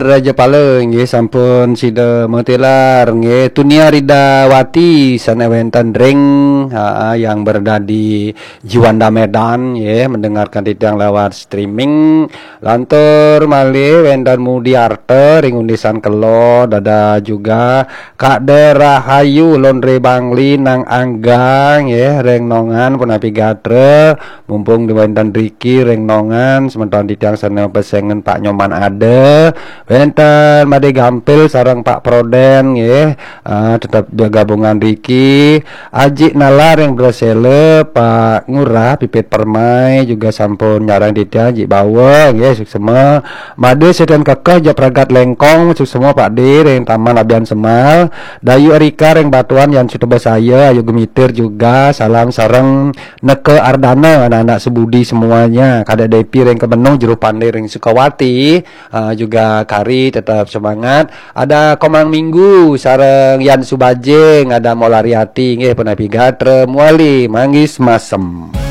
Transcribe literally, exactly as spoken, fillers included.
Raja Pala nggih sampun sida matilar nggih. Tunia Ridawati sané wénten ring, ha, yang berada di Juanda Medan nggih, mendengarkan titiang lewat streaming. Lantur malih wénten Mudi Arta ring Undisan Kelod, ada juga Kak De Rahayu Londre Bangli nang Anggang nggih, ring Nongan punapi gatra. Mumpung di wénten riki ring Nongan, semeton titiang sané pesengan Pak Nyoman ada, wénten Made Gampil sareng Pak Proden nggih, ah, tetep gabungan riki. Aji Nalar ring Bresela, Pak Ngurah Pipit Permai juga sampun nyarengin titiang, Aji Bawa nggih, suksma. Made Seten Kekeh, Jok Pragat Lengkong, suksma Pak De ring Taman Abian Semal. Dayu Erika ring Batuan, Yan Suta Besaya, Ayu Gemitir juga, salam sareng Neka Ardana, anak-anak sebudi semuanya. Kadek Depi ring Kemenung, Juru Pandai ring Sukawati, ah, juga Kari tetap semangat. Ada Komang Minggu sareng Yan Subajing, ada Molariati nggih, punapi gatra, Muali, Manggis, Masem.